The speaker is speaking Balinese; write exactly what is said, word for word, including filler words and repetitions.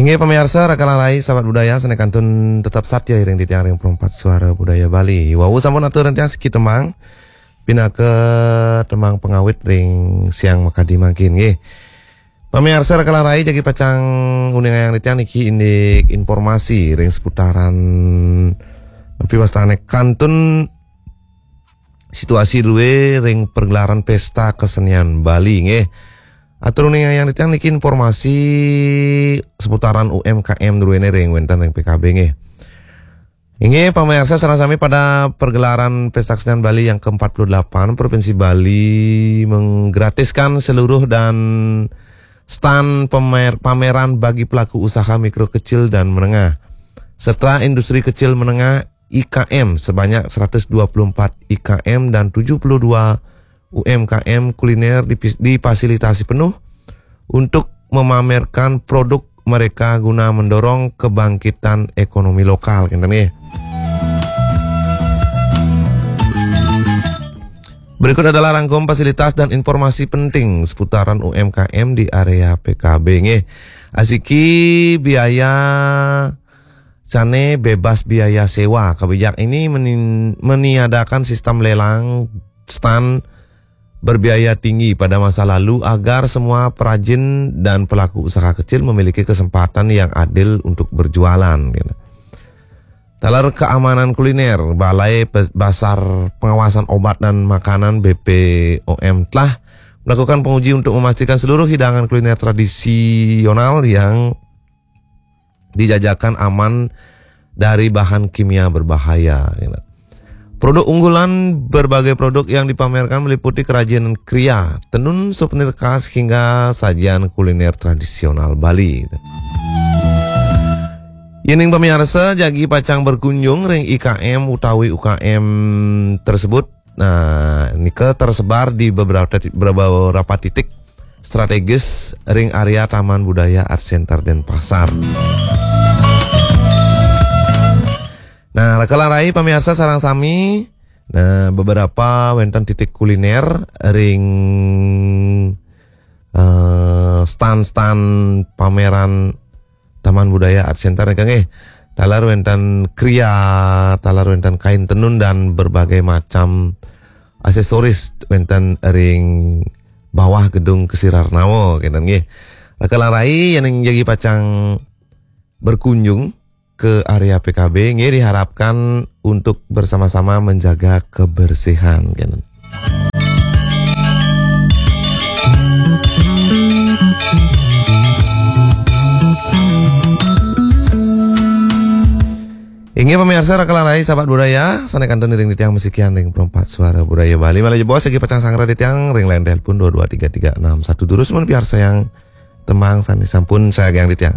Nggih, pamiarsa, raka lan rai, sahabat budaya, sané kantun tetep satya iring titiang ring Perempat Suara Budaya Bali. Wau sampun atur titiang siki tembang, pinaka tembang pangawit ring siang makadi mangkin, nggih. Pamiarsa, raka lan rai, jagi pacang uningayang titiang niki indik informasi ring seputaran, napi wastané, kantun situasi drué ring pergelaran Pesta Kesenian Bali, nggih. Atur uningayang titiang niki informasi seputaran U M K M druéné ring wénten ring P K B, nggih. Inggih, pamiarsa sareng sami, pada pergelaran Pesta Kesenian Bali yang keempat puluh delapan, Provinsi Bali menggratiskan seluruh dan stand pemer-, pameran bagi pelaku usaha mikro kecil dan menengah serta industri kecil menengah, I K M, sebanyak seratus dua puluh empat I K M dan tujuh puluh dua U M K M kuliner dipis-, difasilitasi penuh untuk memamerkan produk mereka guna mendorong kebangkitan ekonomi lokal, kénten, nggih. Berikut adalah rangkum fasilitas dan informasi penting seputaran U M K M di area P K B, nggih. Asiki biaya sané bebas biaya sewa. Kebijakan ini menin-, meniadakan sistem lelang stand berbiaya tinggi pada masa lalu agar semua perajin dan pelaku usaha kecil memiliki kesempatan yang adil untuk berjualan, gitu. Taler keamanan kuliner, Balai Pe-, Basar Pengawasan Obat dan Makanan, B P O M, telah melakukan penguji untuk memastikan seluruh hidangan kuliner tradisional yang dijajakan aman dari bahan kimia berbahaya, gitu. Produk unggulan, berbagai produk yang dipamerkan meliputi kerajinan kria, tenun, suvenir khas, hingga sajian kuliner tradisional Bali. Yéning pamiarsa jagi pacang berkunjung ring I K M utawi U K M tersebut, nah, nika tersebar di beberapa ti-, beberapa titik strategis ring area Taman Budaya Art Center Denpasar. Nah, raka lan rai, pamiarsa sareng sami, nah, beberapa wénten titik kuliner ring, eh, stand-stand pameran Taman Budaya Art Center, nggih. Taler wénten kria, taler wénten kain tenun dan berbagai macam aksesoris wénten ring bawah gedung Ksirarnawa, kénten, nggih. Raka lan rai, yéning jagi pacang berkunjung ke area P K B, nggih, diharapkan untuk bersama-sama menjaga kebersihan, kénten. Inggih, pamiarsa, raka lan rai, sahabat budaya, sané kantun iring titiang masikian ring Perempat Suara Budaya Bali. Malih jebos jagi pacang sanggra titiang ring line telepon dua dua tiga tiga enam satu. Durus mun piarsayang tembang sané sampun sagiang titiang.